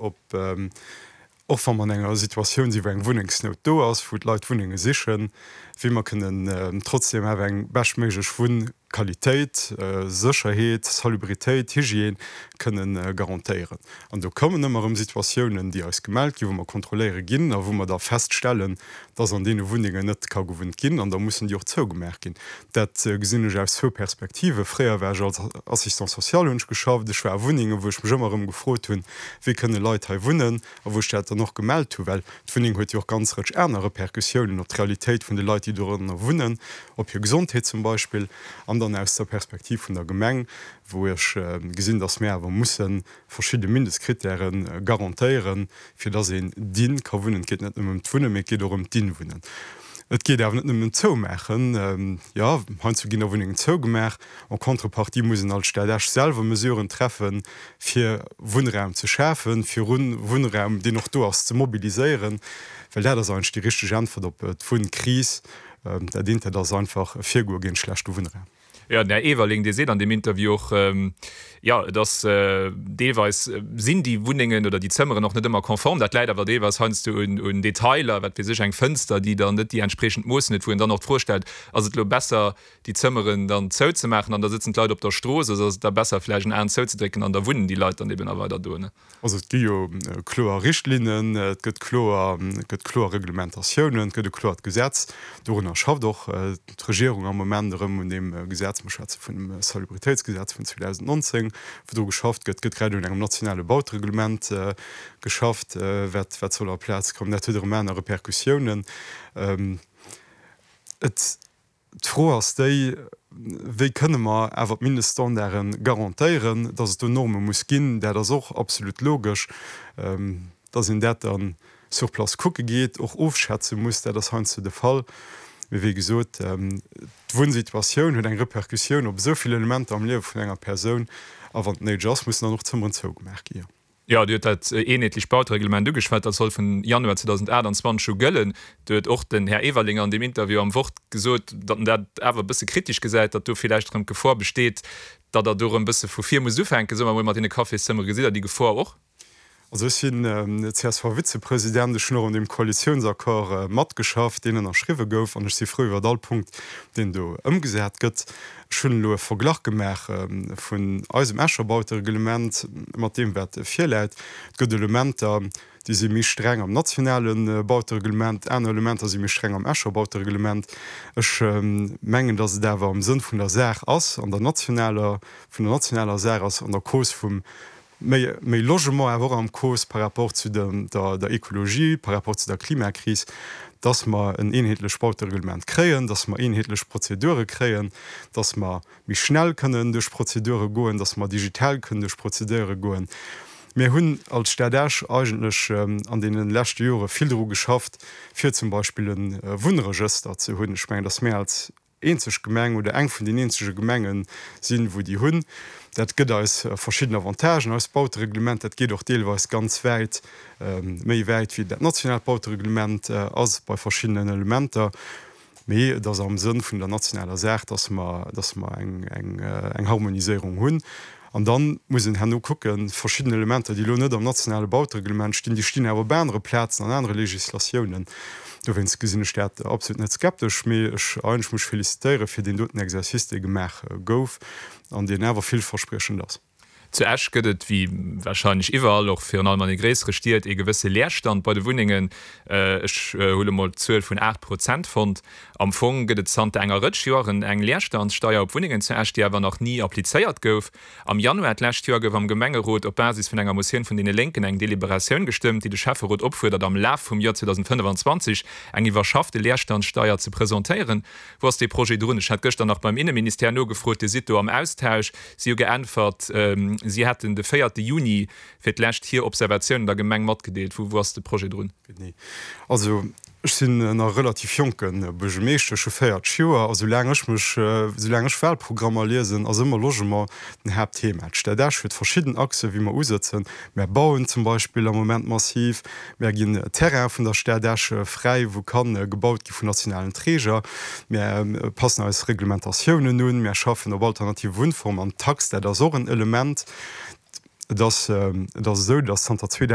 op, och wa mer an enger Situatioun sinn, wou eng Wunnengsnout do ass, wou d'Leit Wunnenge sichen, wéi mer kënnen trotzdeem awer eng beschtméiglech Wunnqualitéit, Sécherheet, Salubritéit, Hygiène kënnen garantéieren. An do kommen ëmmer erëm Situatiounen, déi eis gemellt ginn, wou mer kontrolléiere ginn a wou mer da feststellen, dass an deene Wunnengen net ka gewunnt ginn an da mussen déi och zougemaach ginn. Dat gesinn ech aus zwou Perspektiven. Fréier war ech als Assistant social hunn ech geschafft. Ech war a Wunnengen, wou ech mech ëmmer erëm gefrot hunn, wéi kënne Leit hei wunnen a wou ech dat dann och gemellt hu well d'Wunneng huet jo och ganz Rëtsch aner Repercussiounen op d'Realitéit vun de Leit, déi doranner wunnen, op hir Gesondheet zum Beispill. An dann aus der Perspektiv vun der Gemeng, wou ech gesinn, dass mir awer musse verschidde Mindestkrittäre garantéieren, fir dass een dinn ka wunnen. Et geet net nëmmen ëm d'Wunnen, mee et geet och ëm d'Inwunnen. Et geet awer net nëmmen ëm d'Zoumaachen. Jo, heiansdo ginn da Wunnengen zougemaach. En contrepartie muss een als Stad Esch selwer Mesuren treffen, fir Wunnraum ze schafen, fir Wunnraum, deen och do ass, ze mobiliséieren. Well dat ass eigentlech déi richteg Äntwert op d'Wunnkris. Dat eent, dat ass einfach e Virgoe géint schlechte Wunnraum. Jo, den Här Everling, dee seet an deem Interview och, jo, et ass deelweis sinn déi Wunnengen oder déi Zëmmeren och net ëmmer konform. Dat läit awer deelweis heiansdo un Detailer, wat weess ech, eng Fënster, déi dann net déi entspriechend Moossen huet, wou een dann och d'Fro stellt, ass et elo besser, déi Zëmmeren dann zouzemaachen an da sëtzen d'Leit op der Strooss, oder ass et da besser vläicht en Aen zouzedrécken an da wunnen déi Leit dann eben a weider do, ne? Also et gi jo kloer Richtlinnen, et gëtt kloer, et gëtt kloer Reglementatiounen, et gëtt e kloert Gesetz. Dorunner schafft och d'Regierung am Moment erëm un deem Gesetz. Mer schwätze vun dem Salubritéitsgesetz vun 2019, wou dru geschafft gëtt. Et gëtt grad un engem nationale Bautereglement geschafft, wat, wat soll a Plaz kommen. Dat huet erëm aner Repercussiounen. Et. D'Fro ass déi, Wéi kënne mer awer d'Mindeststandarde garantéieren? Dass et do Norme muss ginn, dat ass och absolut logesch. Dass een dat dann sur place kucke geet, och ofschätze muss, dat ass heiansdo de Fall. Mee wéi gesot, d'Wunnsituatioun huet eng Repercussioun op esou vill Elementer am Liewe vun enger Persoun. A wann et néideg ass, mussen dann och Zëmmeren zougemaach gi. Jo, Dir hutt dat eenheetlecht Bautereglement ugeschwat. Dat soll vun Januar 2028 u gëllen. Do huet och den Här Everling an deem Interview am Wort gesot, datt en dat awer e bësse kritesch gesäit, datt do villäicht erëm d'Gefor besteet, datt Der do erëm e bësse vu vir musst ufänken, soe mer emol, mat deene Cafészëmmere. Gesitt Der déi Gefor och? Also ech sinn CSV-Vizepresident. Ech hunn och un deem Koalitiounsaccord matgeschafft, deen ënnerschriwwe gouf, an ech si frou iwwert all Punkt, deen do ëmgesat gëtt. Ech hunn elo e Verglach gemaach vun eisem Escher Bautereglement mat deem, wat virläit. Et gëtt Elementer, déi si méi streng am nationale Bautereglement, aner Elementer si méi streng am Escher Bautereglement. Ech mengen, datt et awer am Sënn vun der Saach ass, an der nationaler, vun der nationaler Saach ass, an der Cause vum méi, méi Logement, awer och am Cause par rapport zu der, der Ekologie, par rapport zu der Klimakris, dass mer en eenheetlech Bautereglement kréien, dass mer eenheetlech Prozedure kréien, dass mer méi schnell kënnen duerch Prozedure goen, dass mer digital kënnen duerch Prozedure goen. Mir hunn als Stad Esch eigentlech an deene leschte Jore vill dru geschafft, fir zum Beispill e Wunnregëster ze hunn. Ech mengen, dass mir als eenzeg Gemeng oder eng vun den eenzege Gemenge sinn, wou déi hunn. Dat gëtt eis verschidden Avantagen. Eist Bautereglement, dat geet och deelweis ganz wäit, méi wäit wéi dat nationaalt Bautereglement ass bei verschiddenen Elementer. Mee et ass am Sënn vun der nationaler Saach, dass mer, dass mer eng, eng, eng Harmoniséierung hunn. An da muss een herno kucken, verschidden Elementer, déi elo net am nationale Bautereglement stinn, déi stinn awer op anere Plazen, an anere Législatiounen. Dowéinst gesinn ech dat absolut net skeptesch, mee ech eigentlech muss félicitéiere fir deen doten Exercice, dee gemaach gouf an deen awer villverspriechend ass. Zu Esch gëtt et, wéi wahrscheinlech iwwerall, och virun allem an de gréissere Stied, ee gewësse Leerstand bei de Wunnengen. Ech hu lo mol d'Zuel vun 8 Prozent fonnt. Am Fong gëtt et zanter enger Rëtsch Joren eng Leerstandssteier op Wunnengen zu Esch, déi awer nach ni applizéiert gouf. Am Januar d'lescht Joer gouf am Gemengerot op Basis vun enger Motioun vun deene Lénken eng Deliberatioun gestëmmt, déi de Schäfferot opfuerdert, am Laf vum Joer 2025 eng iwwerschaffte Leerstandssteier ze presentéieren. Wou ass dee Projet drun? Ech hat gëschter nach beim Inneministère nogefrot. Dir sidd do am Austausch. Si hu geäntwert, si hätten de véierte Juni fir d'lescht hir Observatiounen der Gemeng matgedeelt. Wou ass de Projet drun? Genee. Also ech sinn nach e relativ jonke Buergermeeschter, ech hu 40 Joer, a soulaang ech mech, soulaang ech Wahlprogrammer liesen, ass ëmmer Logement den Haaptthema. D'Stad Esch huet verschidden Achsen, wéi mer usëtzen. Mär bauen zum Beispill am Moment massiv, mär ginn Terraine vun der Stad Esch fräi, wou ka gebaut gi vun nationalen Träger, mär passen eis Reglementatiounen un, mär schaffen op alternative Wunnformen an d'Tax, dat ass och en Element. Et ass, et ass esou, datt zanter 2000.